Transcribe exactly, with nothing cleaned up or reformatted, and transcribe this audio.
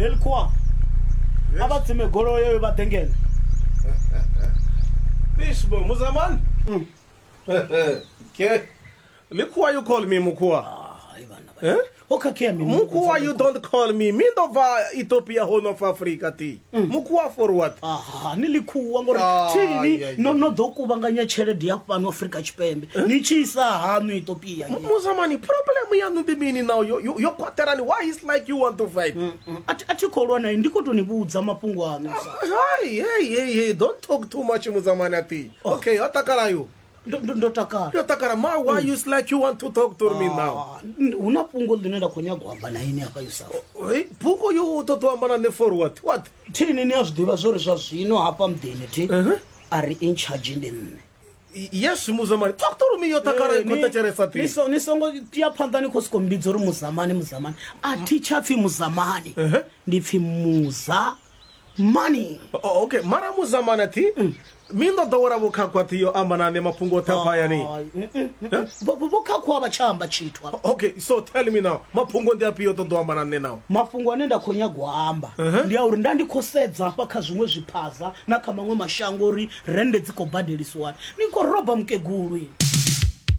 Helikhuwa a vha tsime goloi yeyo vha ḓe ngeno. Eish bo Muzamani. Okay. Likhuwa, you call me Mukhuwa. Hai vhana vha. Eh? Ho khakhea mini? Mukhuwa, you don't call me. Mi ndo bva Ethiopia, Horn of Africa ti. Mukhuwa for what? Aha, ni likhuwa ngori Ah, thini yeah, yeah. no no ḓo kuvhanganya tshelede ya fhano Afrika Tshipembe ni tshi isa haṋu Ethiopia. Muzamani, problem yanu ndi mini now? Yo yo yo kwaterani. Why is like you want to fight? A thi a thi khou lwa naye, ndi khou tou ni vhudza mafhungo aṋu sa. Hey, hey, hey, hey, don't talk too much, Muzamani ati. Okay, otakala you. Ndo- ndo ndo takala. Yo takala ma, why you like you want to talk to me now? Ah, n- hu na fhungo ḽine nda khou nyaga u amba na ini hafha Yusuf. Hey, buko you ṱoḓa u amba na nṋe for what? What? Thini ni a zwi ḓivha zwori zwa zwino hafha muḓini thi a ri in charge ndi nṋe. Yes, Muzamani. Talk to me, yo takala Eh, ko ni- thetshelesa ti. ni so- ni songo tea phanḓa ni khou sokou mbidza uri muzamani muzamani, a thi tsha pfi muzamani, ndi pfi muza mani. Oh, okay, mara Muzamani ti. Mi ndo ḓowela vhukhakhu athi yo amba na nṋe mafhungo oṱhe afha hayani. Vho khakhuwa vha tsha amba tshithu hafha. Okay, so tell me now. Mafhungo ndi afhio ṱoḓa u amba na nṋe now? Mafhungo ane nda khou nyaga u amba ndi a uri nda ndi khou sedza hafha kha zwiṅwe zwiphaza na kha maṅwe mashango uri rennde dzi khou badelisiwani, ni khou roba mukegulu ini.